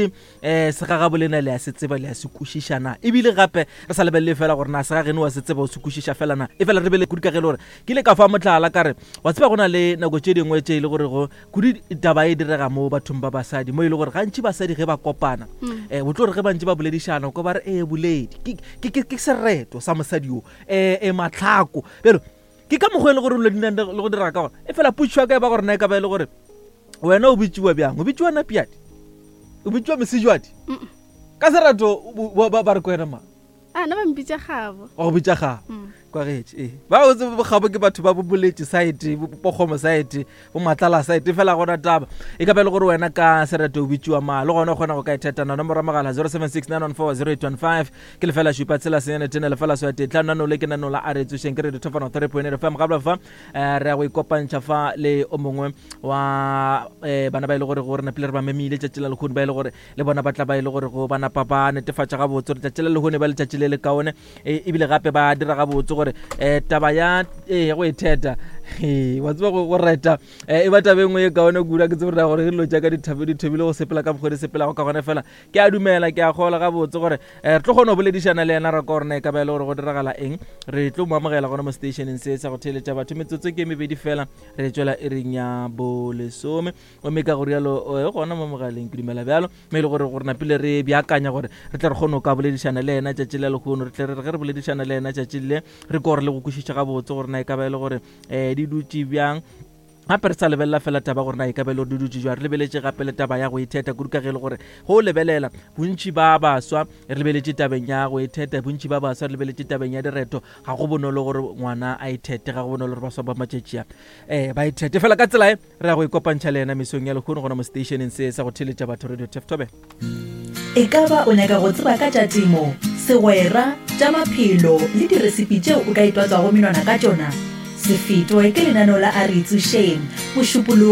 um segagabolena le a se tseba le a se kwešiša na ebile gape re sa lebelele fela gore na segageno wa se tseba o se kwešiša fela na e fela re bele kudu ka ge e le gore ke ile ka fa motlala ka re wa tseba go na le nako tše dingwe tše e le gore go kudu taba e direga mo bathong ba basadi mo e le gore gantši basadi ge ba kopana um o tlo re ge bantši ba boledišana ko ba re ee boledi ke sereto sa mosadi yo um e matlhako bjalo ke ka mokgwa e le gore le go dira ka gona e fela putšo ya ka e ba gore na e ka ba e le gore wena o bitsiwa bjang o bitsiwa napiadi o bitsiwa mesejwadi ka serato ba re ko wena mang a na ba mpitša gabo wa go bitša gabo mm. kwa getse ee ba o tsebe bogabo ke batho ba boboletše site bokgomo site bo matlala site fela gona taba e ka ba e le gore wena ka sereto o bitsiwa ma le gona o kgona go ka ithetana nomoro ya mogala 0769140815 ke lefela šupa tshela senyane tene lefela swa tee tlhano nano le ke nano la a re tsošeng ke re dithofano 3.8 fm gabla fa eh, re ya go ikopantšha fa le o mongwe wa eh, bana ba e le gore go re napile re ba memile tšatši la lehono ba e le gore le bona ba tla ba e le gore go ba napa ba netefatša gabotse gore tšatši la lehono ba letšatši le le kaone e, ebile gape ba dira gabotse gore um taba ya ee go itheta wa tseba go reta e ba taba e nngwe e kaone kudu ke tsebe gore dilo tša ka di thobile go sepela ka mokgwa di sepelago ka gone fela ke a dumela ke a gola gabotse gore um re tlo kgona go boledišana le yena ra ka gore na e ka ba e le gore go diragala eng re tlo mo amogela gona mo stationeng se sa go theeletša batho metsotso ke mebedi fela re tswela e reng ya bolesome gomme ka go rialo e gona mo mogaleng ke dumela bjalo mme e le gore gore napile re beakanya gore re tle re kgone go ka boledišana le yena tšatši la lehono re tle re ge re boledišana le yena tšatši le re ko gore le go kwešiša gabotse gore na e ka ba e le gore um di dutše bjang gape re sa lebelela fela taba gore na e ka ba e le gore di dutše jwang re lebeletše gape le taba ya go itheta kudu ka ge e le gore go lebelela bontši ba baswa re lebeletše tabeng ya go itheta bontši ba baswa re lebeletše tabeng ya direto ga go bonolo gore ngwana a ithete ga go bonolo gore baswa ba matšatši a um ba ithete fela ka tsela e Re ya go ikopantšha le yena mesong ya lehono gona mo seteišeneng se sa go theeletša batho Radio Tef Thobela. E ka ba o nyaka go tseba ka tša temo, segwera, tša maphelo le diresipi tšeo o ka itwatswago menwana ka tšona? Se fetwe ke lenaneo la A Re Itsošeng, Mošupologo.